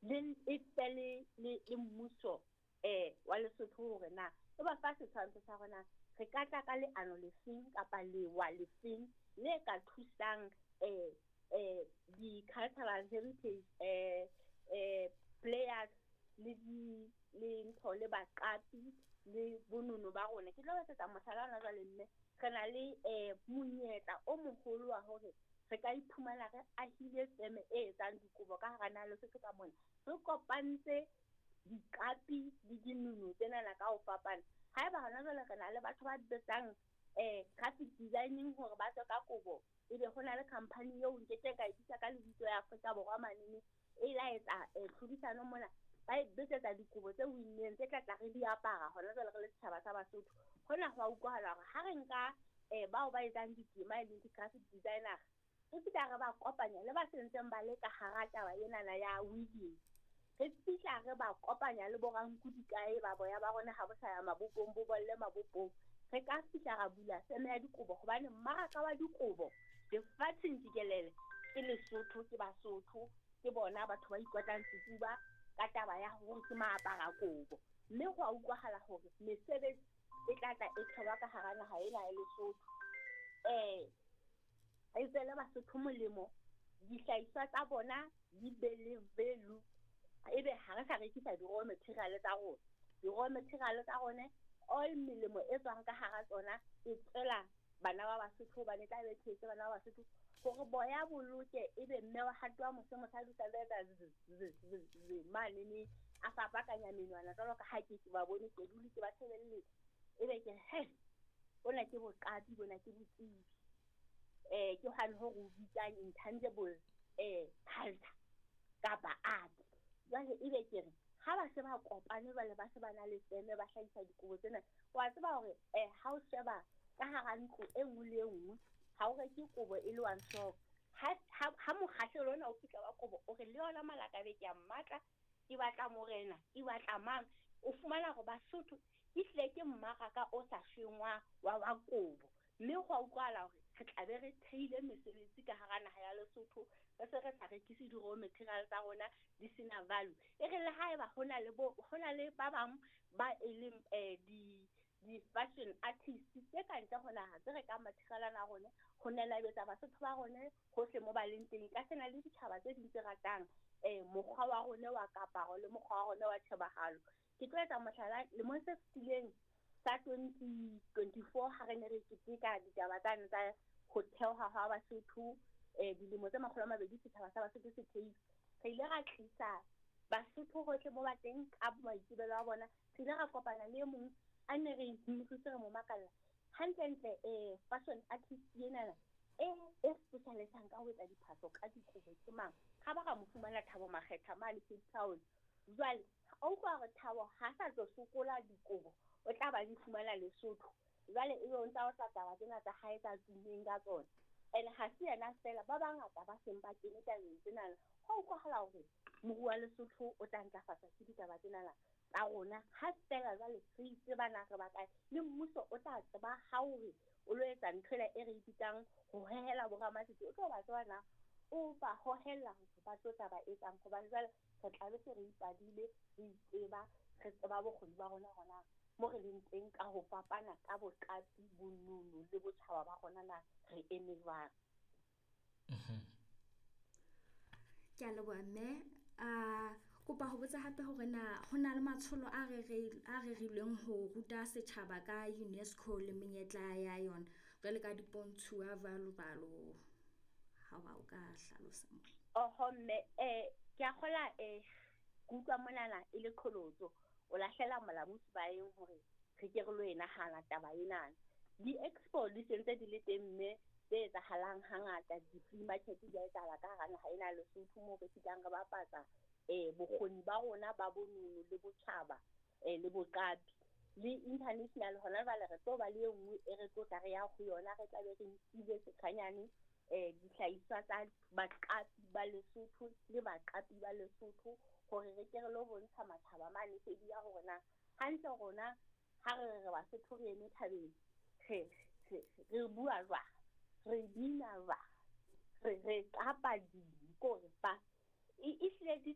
Le e fe le le le mmuso um wa Lesotho hore na e ba fa setshwantsho sa hore na re ka tla ka leano lefeng kapa lewa lefeng le ka thusang um um di-cultural heritage um um players le di le ntho le baqapi le bonono ba rona. Ke tlo etsetsa mohlala hona jwale mme re na le um monyetla o moholo wa hore re ka iphumana re ahile feme e etsang dikobo ka hara naha Lesotho ka mona. Re kopantse diqapi le dinono tsenana ka ho fapana. Haeba hona jwale re na le batho ba betsang um graphic designing hore ba tswe ka kobo, ebe ho na le company eo nkekeng ka e bitsa ka lebitso ya Afrika Borwa manene e la etsa tlhodisano mona, ba e betsetsa dikobo tse winneng tse tla tla re di apara hona jwale re le setjhaba sa Basotho. Hona ho a utlwahala hore ha re nka bao ba etsang ditema e leng di-graphic designer, re fihla re ba kopanya le ba sentseng ba le ka hara taba enana ya weaving. Re fihla re ba kopanya le boranku dikae ba boya ba rona ha bo sa ya mabopong, bo bolle mabopong. Re ka fihla ra bula feme ya dikobo hobane mmaraka wa dikobo lefatsheng jikelele ke Lesotho, ke Basotho, ke bona batho ba ikotlang sefuba ka taba ya hore ke maapara kobo. Mme ho a utlwahala hore mesebetsi e tla tla e thewa ka hara naha ena ya Lesotho. E tswele Basotho molemo, dihlahiswa tsa bona di be le value, ebe ha re sa rekisa di-raw material tsa rona. Di-raw material tsa rona, all melemo e tswang ka hara tsona e tswela bana ba Basotho, hobane tla be thetse bana ba Basotho hore boya boloke, ebe mme wa hato wa mose mosadi o sa etsa z z z z mane ne a fapakanya menwana jwalo ka ha ke ba bone ke dule ke ba shebelletse, ebe ke he bona ke boqapi, bona ke botsebi. Ke hwane ho re o bitsang intangible culture kapa art. Jwale ebe ke re ha ba se ba kopane jwale ba se ba na le feme ba hlahisa dikobo tsena, wa tseba hore ha o sheba ka hara ntlo e nngwe le e nngwe ha o reke kobo e le one shop. Ha mokgahlelo ona o fihla wa kobo o re le yona malakabe ke a mmatla, ke batla morena, ke batla mang, o fumana hore Basotho ke hlile ke mmaraka o sa shweng wa wa kobo. Mme ho a utlwahala hore re tla be re theile mesebetsi ka hara naha ya Lesotho, re se re sa rekise di-raw material tsa rona di sena value. E re le haeba ho na le bo ho na le ba bang ba e leng di-fashion artists tse ka ntle ho naha tse rekang material ana a rona ho nenabetsa Basotho ba rona hohle mo ba leng teng. Ka sena le ditjhaba tse ding tse ratang mokgwa wa rona wa kaparo le mokgwa wa rona wa tjhebahalo. Ke tlo etsa mohlala lemong se fetileng sa 2024 ha re ne re keteka ditaba tsane tsa ho theoha ha Basotho, dilemo tse 200 setjhaba sa Basotho se theilwe. Re ile ra tlisa Basotho hohle mo ba teng ka maitsebelo a bona. Re ile ra kopana le e mong a ne re mosuse re mo makalla hantlentle, fashion artist enana e specialisang ka ho etsa diphahlo ka dikobo ke mang. Ha ba ra mo fumana Thabo Makgetha mane Cape Town. Jwale o utlwa hore Thabo ha sa tlo sokola dikobo, o tla ba di fumana Lesotho. Jwale ebe o ntsa o tla taba tsena tsa hae tsa tummeng ka tsona. And ha se yena fela, ba bangata ba seng ba kene tabeng tsenana. Ho utlwahala hore moruo wa Lesotho o tla ntlafatsa ke ditaba tsenana tsa rona. Ha fela jwale re itseba na re ba kae, le mmuso o tla tseba ha hore o lo etsa ntho ena e re e bitsang ho hohela boramatsete, o tlo ba tseba na o ba hohela hore ba tlo tla ba etsang, hobane jwale re tla be se re ipadile, re itseba, re tseba bokgoni ba rona hona mo re leng teng ka ho fapana ka boqapi, bonono le botjhaba ba rona na re eme jwang. Ke a leboha mme. A kopa ho botsa hape hore na ho na le matsholo a rerilweng ho ruta setjhaba ka UNESCO le menyetla ya yona jwale ka dipontshuwa jwalo jwalo, ha ba o ka hlalosa mo. Oho mme, ke a kgola, ke utlwa monana e le qholotso, o lahlela molamu sebaeng hore re ke re lo e nahana taba enana. Di-expo di sentse di le teng mme tse etsahalang hangata, di-flea market di a etsahala ka hara naha ena ya Lesotho moo re fihlang re bapatsa bokgoni ba rona ba bonono le botjhaba le boqapi. Le international hona jwale re tlo ba le e nngwe e re tlo tla re ya ho yona, re tla be re nkile setshwanyane dihlahiswa tsa baqapi ba Lesotho le baqapi ba Lesotho hore re ke re lo bontsha matjhaba mane sedi ya hore na hantle rona ha re re Basotho re eme thabeng, re bua jwang, re bina jwang, re qapa ding, kore ba e hlile di